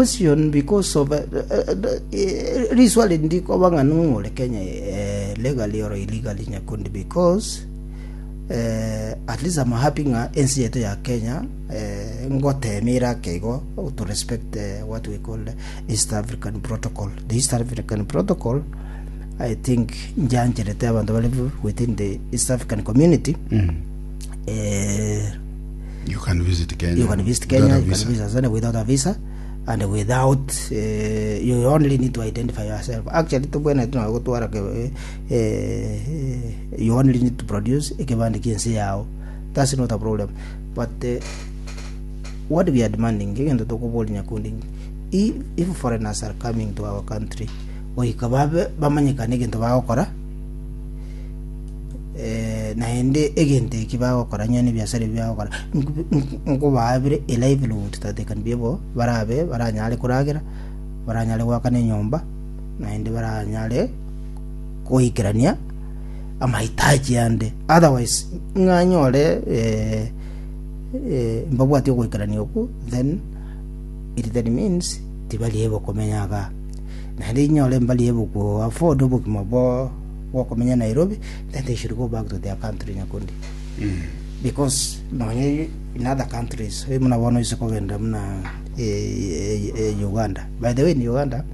question because of riswali ndikoba ng'a ning'o ore Kenya legally or illegally nyakundi because at least I'm happy ng'a ense yaito ya Kenya ngoteema ere ake igo to respect what we call East African protocol. The East African protocol I think njancherete abanto bare within the East African community You can visit Kenya. You can visit without Kenya, a you can visa. visit Tanzania without a visa and without you only need to identify yourself. Actually tobwenerete nonya gotwara ke eh, you only need to produce ekebande kia ense yao. That's not a problem. But what we are demanding egento tokoboria nyakundi if, if foreigners are coming to our country goika babe bamanyekane egento bagokora Eh, naende egento eki bagokora onye nebiasara ebi bagokora, nkobaabire a livelihood that they can be able barabe baranyare koragera, baranyare goakana enyomba, naende baranyare goikerania amahitaji ande. Otherwise, ng'a nyore eh, eh, mbabwati ogoikerania okwo, then it then means tibari able komenya igaa. Naende inyore mbari able ko afford obogima bwa gokomenya Nairobi, then they should go back to their country nyakundi. Because nonye in other countries, eh, buna bono ise kogenda buna eh, eh, eh, Uganda. By the way, in Uganda,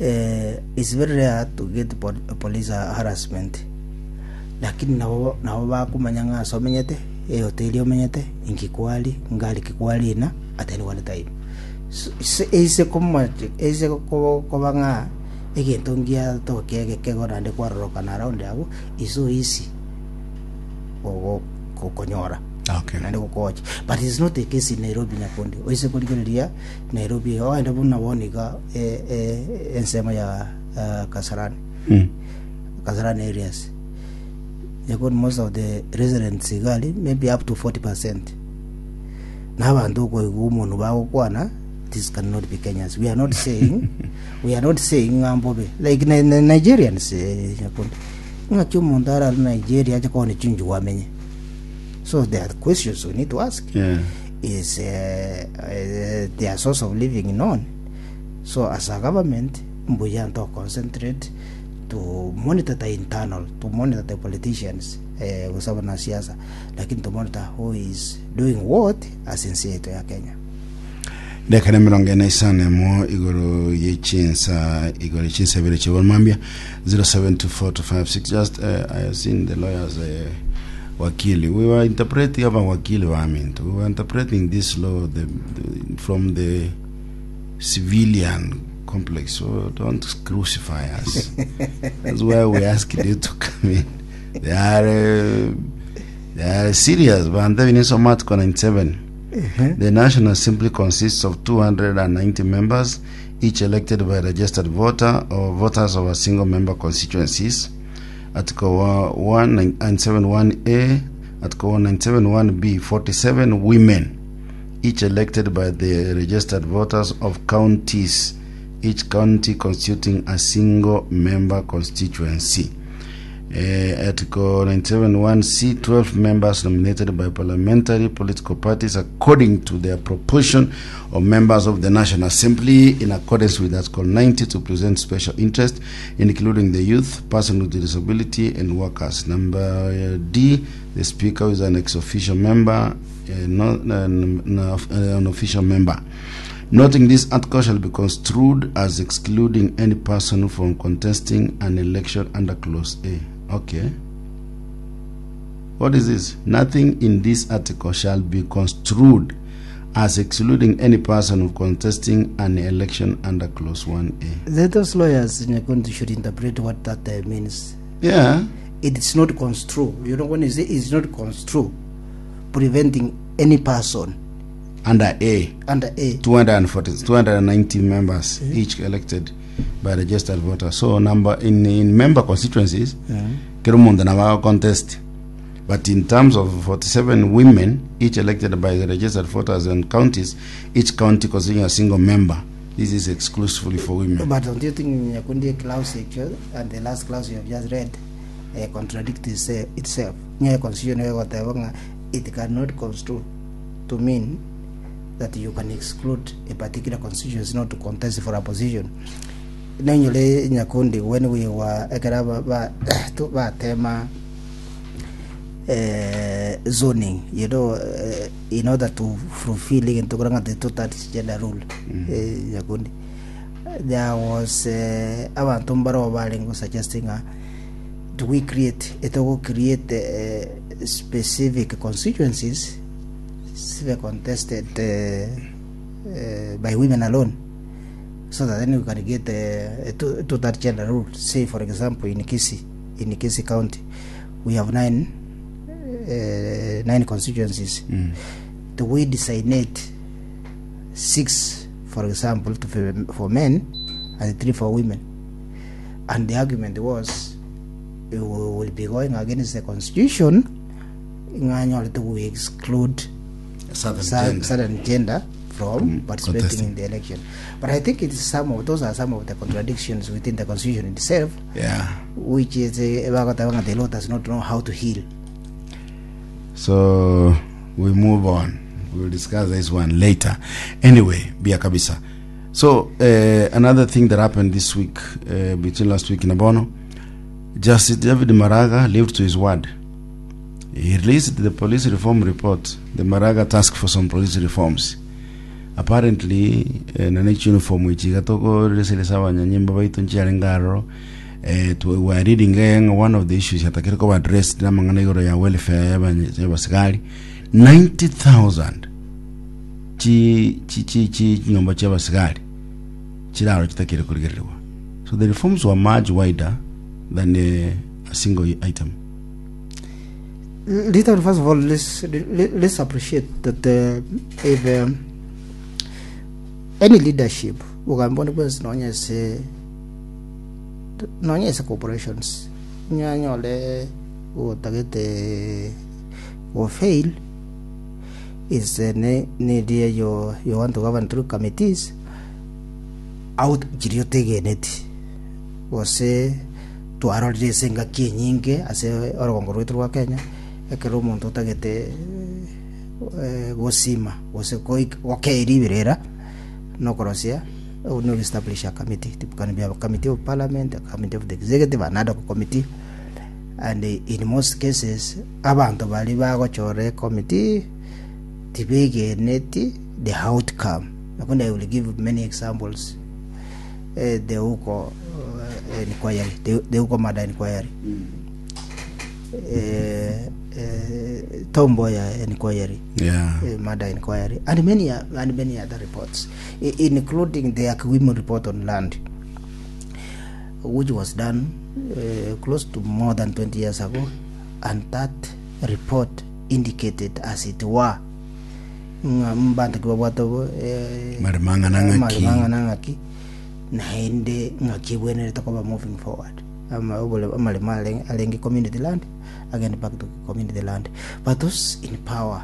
eh, it's very rare to get pol police harassment. Lakini nabo nabo bakomanya ng'a ase omenyete, ehoteli omenyete, inki kwari, ngari ki kwarina at any one time. So, ise ise komo ise ko- koba ng'a Egento ngiatokia egekego naende kwarorokana around abwo is so easy gogo gokonyora Okay. naende gokocha but it's not the case in Nairobi nyakundi oise korigereria Nairobi ogende buna bono iga eh, eh, ensemo ya eh, Kasarani Mm. Kasarani areas nyakundi most of the residents iga aria maybe up to 40% na abanto okoigwa omonwe bagokwana this cannot be Kenyans we are not saying We are not saying ng'a mbobe like na, na, Nigerians eh, nyakundi ng'aki omonto arare Nigeria ache kogenda chinjugu amenye so there are questions we need to ask Yeah. is uh, uh, their source of living known so as a government mbuya nto concentrate to monitor the internal to monitor the politicians eh, gose abanasiasa lakini to monitor who is doing what as ense yaito ya Kenya Dakika na emerongo ene isano emo igoro ye chinsa igoro ye chinsa ibere chia mambia 072456 just I have seen the lawyers wakili we were interpreting aba wakili baminto we were interpreting this law the, the, from the civilian complex so don't crucify us that's why we asked you to come in they are they are serious bantu nisoma article 97 The National Assembly consists of 290 members, each elected by registered voter or voters of a single member constituencies. Article 171A, Article 197.1B, 47 women, each elected by the registered voters of counties, each county constituting a single member constituency. Article 97.1c 12 members nominated by parliamentary political parties according to their proportion of members of the National Assembly in accordance with Article 90 to present special interest including the youth, person with disability and workers. Number D, the speaker is an ex-officio member, not an official member. Noting this article shall be construed as excluding any person from contesting an election under clause A. Okay. What is this? Nothing in this article shall be construed as excluding any person of contesting an election under clause 1A. Then those lawyers Nyakundi should interpret what that means. Yeah. It's not construe. You know when you say it's not construe, preventing any person Under A. Under A. 240, 290 members each elected by registered voters. So number in, in member constituencies, kero omonto nabo contest. But in terms of 47 women, each elected by the registered voters and counties, each county constituting a single member. This is exclusively for women. But don't you think Nyakundi clause actually, and the last clause you have just read contradict itself? Nye constitution egoteba ng'a it cannot construe to mean that you can exclude a particular constituency not to contest for a position. Nainyore Nyakundi when we were ekero aba ba to batema eh, zoning you know eh, in order to fulfill egento kora ng'a the two-thirds gender rule eh, Nyakundi there was eh, abanto mbaro barenge suggesting ng'a do we create etogo create eh, specific constituencies sibe contested eh, eh, by women alone so that then we can get a two-third gender rule. Say, for example, in Kisii, in Kisii County, we have nine, nine constituencies. Do we designate six, for example, to, for men and three for women? And the argument was we will be going against the constitution ng'anyorete we exclude Southern gender. certain gender from participating contesting. in the election. But I think it is some of those are some of the contradictions within the constitution itself, which is bagoteba ng'a the law does not know how to heal. So we move on. We'll discuss this one later. Anyway, bia kabisa. So another thing that happened this week, between last week and Abono, Justice David Maraga lived to his word. He released the police reform report, the Maraga Task Force on Police Reforms. Apparently, nane uniform ichi gatokoreseresa abanyanyimbo baitu nchiarenge aroro we were reading one of the issues yatakire koba addressed namang'ana igoro ya welfare y'abasigari 90000 chi chi chi chi chinyomba chi'abasigari chiraro chitakire korigererigwa so the reforms were much wider than a single item. Little, first of all, let's appreciate that if any leadership ogamba onde bwensi nonya ase nonya ase corporations nyanyore otagete go fail is ne neria yo you want to govern through committees out chiria otegeneti gose Twarorire ase engaki enyinge ase orogongo rwaito rwa Kenya, ekero omonto otagete gosima gose gokei riberera na okorosia no establish a committee, it can be a committee of parliament, a committee of the executive, an ad hoc committee and in most cases abanto baria bagochora ecommittee tibegeneti the outcome. Lakini I will give many examples. the Uko inquiry, the Uko murder inquiry, Tom Mboya inquiry, murder inquiry, and many and many other reports, including the Akiwimu report on land, which was done close to more than 20 years ago, and that report indicated as it were ng'a mbanto ki babwate obo eh, Maremo ang'ana ng'aki. amaremo ang'ana ng'aki naende ng'aki ebwenerete koba moving forward Ama- obore- amaremo are- arenge community land agende back to community land but those in power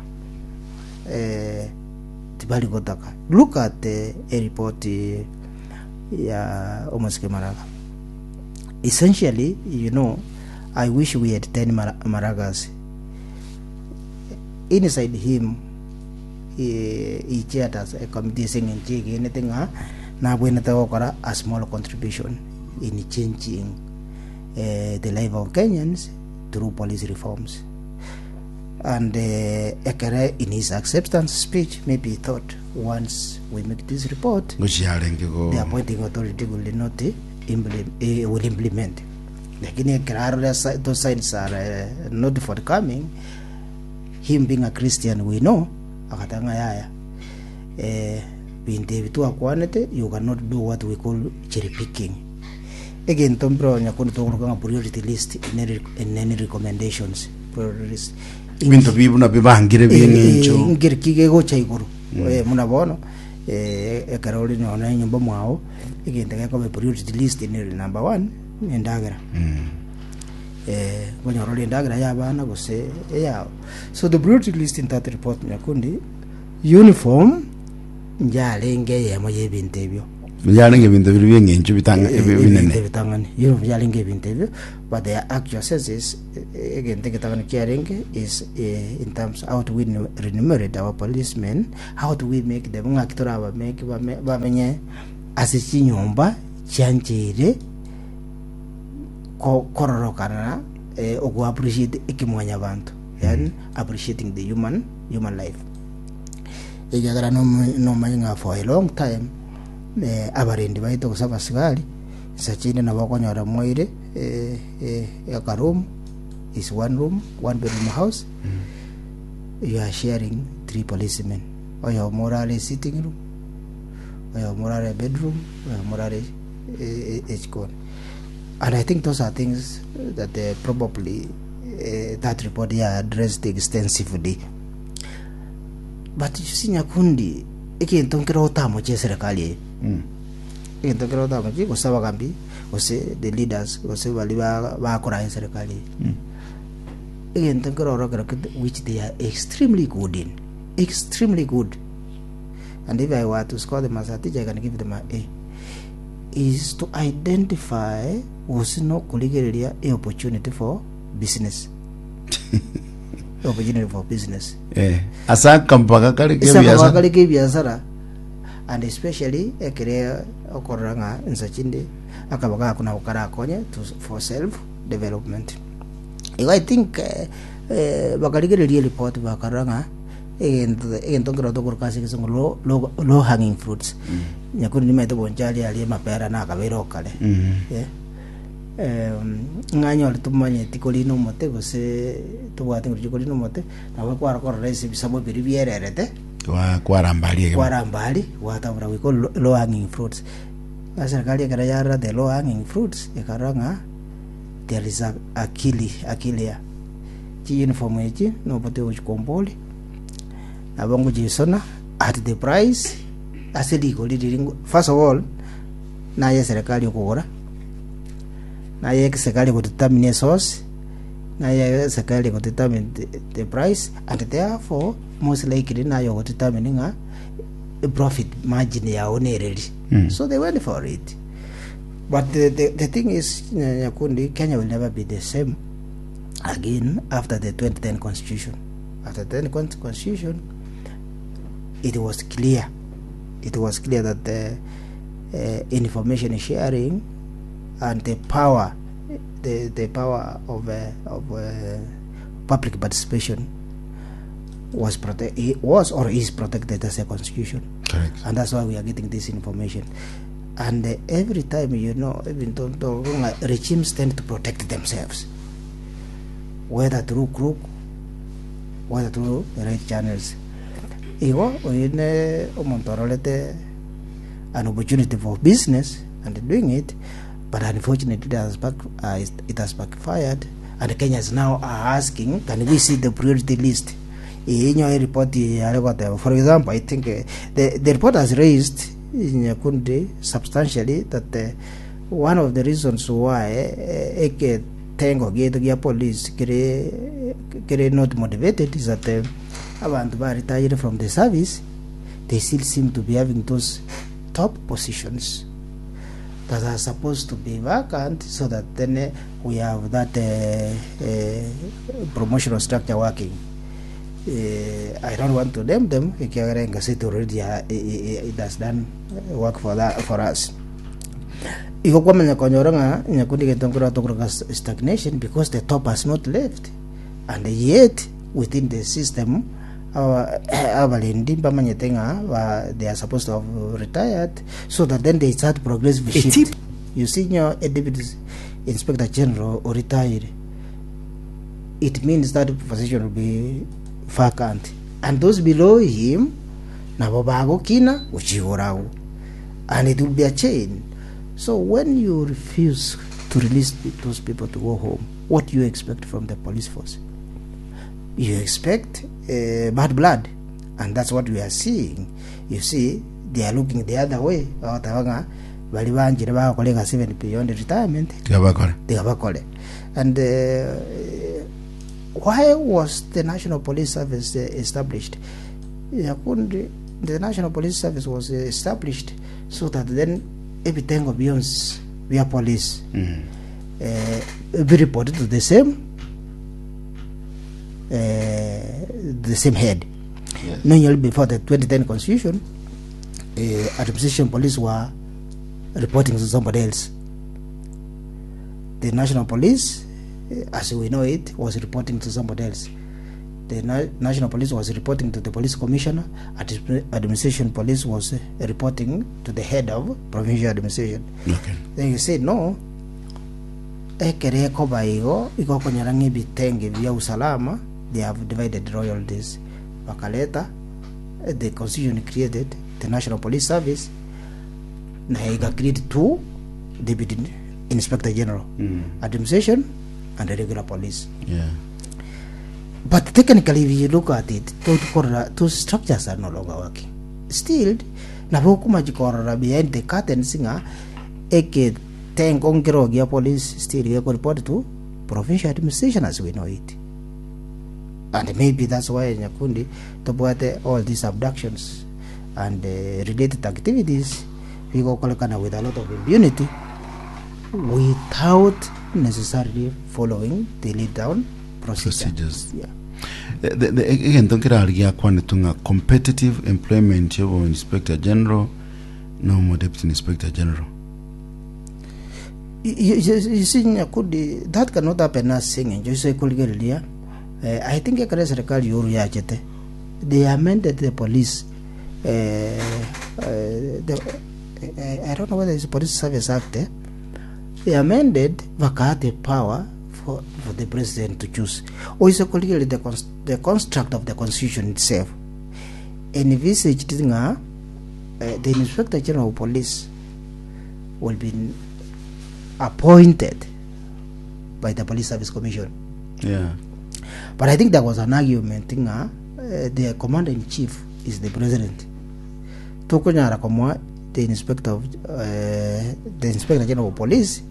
eh, tibari gotaka look at a report ya omosike maraga essentially you know i wish we had 10 maragas Inside him he chaired as a committee ase eng'encho egenete ng'a nabwenerete gokora a small contribution in changing the life of Kenyans through police reforms. And ekere in his acceptance speech maybe he thought once we make this report Ngochiarenge go the appointing authority will not implement, will implement. Lakini ekero arore those signs are not forthcoming him being a Christian we know agateba ng'a yaya eh, binto ebi twakwanete you cannot do what we call cherry picking egento mbiro nyakundi tokoroka ng'a priority list in any, in any recommendations priority list ebinto bi buna bibangire bi'eng'encho ngeri ki gegocha igoro Eh, muna bono eh, ekero ore nonya enyomba mwao egento gekoba priority list nere number one nendagera eh, okonyora ore endagera y'abana gose eyao. So the priority list in that report nyakundi uniform yarenge eyemo y'ebinto ebio. Yarenge ebinto biria bi'eng'encho bitanga Ebinto binene. ebitang'ani uniform yarenge ebinto ebio but the actual sense is egento egetang'ani kiarenge is in terms how do we remunerate our policemen how do we make them ng'aki torabamake bame bamenye ase chinyomba chiancheire ko kororokana ogo appreciate ekemwanyabanto yaani appreciating the human human life. Ekiagera nomanye ng'a for a long time abarendi baito gose abasigari insa chinde nabo okonyora mwaire aka room is one room one bedroom house you are sharing three policemen oyomo orare sitting room oyomo orare bedroom oyomo orare echikoni and I think those are things that probably that report ya addressed extensively. But you see Nyakundi, egento nkere otamoche eserekari eye. Egento nkere otamoche gose abagambi gose the leaders gose baria ba- bakoraa eserekari eye. Egento nkere oro kero kete which they are extremely good in, extremely good. And if I were to score them as a teacher, I can give them a A. Is to identify gose nokorigereria e opportunity for business. Opportunity for business. Eh, ase akampaka kare Ase akampaka kebiasara. kare kebiasara and especially ekere okorora ng'a insa chinde akabaga ako nabo karakonye to for self development. Igo I think eh, eh, bakarigereria ereport bakarora ng'a egento egento nkero tokoroka ase egesongo low, low, low hanging fruits. Nyakuri nimaete bonchari aria amapera nakabeire okare. Eh. Ng'a nyore tomanyeti korina omote gose tobwate nguru chikorina omote, nabo kwara korora ase ebisamu biria biererete, Kwa- kwaramba aria egemo. kwaramba aria, gwatabora goika low low hanging fruits. Ng'a serikali ekero yarora the low hanging fruits, ekarora ng'a there is a akili akilia. Chiuniform echi nobote gochikombori, nabo ngochisona at the price ase rigori riria first of all, naye eserekari okogora. Naye eserekari egodetermine esource, naye eserekari egodetermine the price and therefore most likely naye ogodetermine ng'a profit margin yao nereri. So they went for it. But the thing is, Nyakundi, Kenya will never be the same again after the 2010 constitution. After the 2010 constitution, it was clear, it was clear that the information sharing and the power the, the power of, of public participation was prote- was or is protected as a constitution. Correct. And that's why we are getting this information. And every time, you know, even though regimes tend to protect themselves, whether through crook, whether through the right channels. Igo, oyo ne omonto ororete an opportunity for business and doing it but unfortunately it has, back, it has backfired and Kenyans now are asking can we see the priority list inyo report yare goteba for example I think the report has raised Nyakundi substantially that one of the reasons why eketengo gieto gia police kere kere not motivated is that abantu ba retired from the service they still seem to be having those top positions that are supposed to be vacant so that then we have that promotional structure working. I don't want to name them ekiagera engaseti already it has done work for that for us. Igo kwamanya konyora ng'a nyakundi gento nkoro tokoroka stagnation because the top has not left and yet within the system Abarendi mbamanyete ng'a ba they are supposed to have retired so that then they start progressive shift. You see nyo a deputy inspector general oretired it means that position will be vacant and those below him nabo bagokina gochigora agwo and it will be a chain. So when you refuse to release those people to go home, what do you expect from the police force? You expect bad blood and that's what we are seeing. You see, they are looking the other way. Bagoteba ng'a bari banchire bagokora egasi even beyond retirement Tiga bakore. tiga bakore. And why was the National Police Service established? Nyakundi, the National Police Service was established So that then ebitengo bionsi bia police eh, be reported to the same eh, the same head. Yes. Normally before the 2010 constitution, eh, administration police were reporting to somebody else. The national police, eh, as we know it, was reporting to somebody else. The na- national police was reporting to the police commissioner. Administration police was eh, reporting to the head of provincial administration. Okay. Then you say no, ekere ekoba igo igo okonyora ng'a ebitenge bia usalama they have divided royalties bakareta eh, the constitution created the national police service na ega create two deputy inspector general administration and the regular police Yeah. But technically if you look at it, tokorora those structures are no longer working. Still, nabo okomachi korora behind the curtains ng'a eketengo nkero gia police still gekoreport to provincial administration as we know it. And maybe that's why Nyakundi tobwate all these abductions and uh, related activities bigokorekana with a lot of impunity without necessarily following the laid down procedure. Procedures. Yeah. The- the- the- egento nkerari giakwanetwe ng'a competitive employment yobo inspector general na omo deputy inspector general You, you, you see Nyakundi, that cannot happen ase eng'encho ase ekorigereria eh, I think ekero eserikali yoru yachete they amended the police eh, eh, the, eh, I don't know whether it's Police Service Act eh? They amended bakaa the power for, for the president to choose. Oise korigereria the, cons the construct of the constitution itself envisaged ng'a eh, the inspector general of police will be appointed by the police service commission. Yeah. But I think there was an argument ng'a eh, the commander in chief is the president. Tokonyara komoa the inspector of eh, the inspector general of police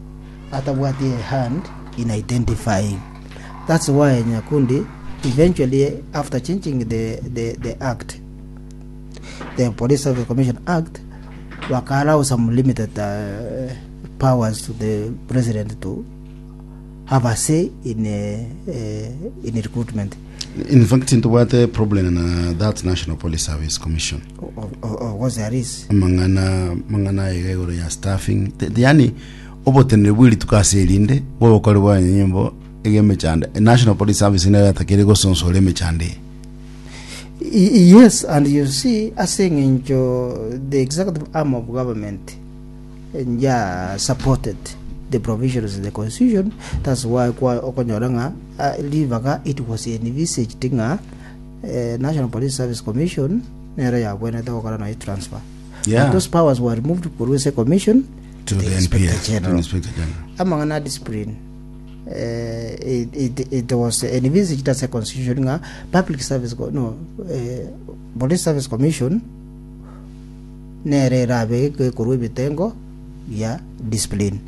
atabwati a hand in identifying. That's why Nyakundi eventually after changing the, the, the act the Police Service Commission Act baka allow some limited uh, powers to the president to have a say in uh, uh, in recruitment. In fact, ntobwate problem na that National Police Service Commission. Of, of, of course there is. Amang'ana mang'ana aiga igoro ya staffing. The, the, yani oboteneneri bwe rituko ase erinde bw'obokori bwa nyimbo ege emechando. National Police Service nero yatakeire gosonsora emechando eye. Yes, and you see ase eng'encho the executive arm of government nja supported the provisions in the constitution that's why kwa okonyora ng'a ah, ribaga it was envisaged ng'a eh, National Police Service Commission nero yabwenerete gokora nayo transfer Yeah. But those powers were removed korwa ase commission To the Inspector NPS, to the General. Inspector General. Amang'ana a discipline eh, it, it, it was envisaged as a constitution ng'a public service co- no eh, police service commission nere erabe ekorwa ebitengo bia discipline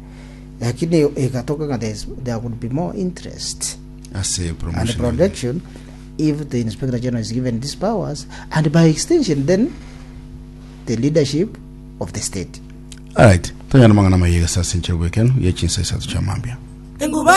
lakini egatoka ng'a there is- there would be more interest Ase and promotion. protection if the inspector general is given these powers and by extension then the leadership of the state Alright. Tonyana mang'ana mayega sase nchero bwekeno ye chinsa isato chia mambia. Enguba.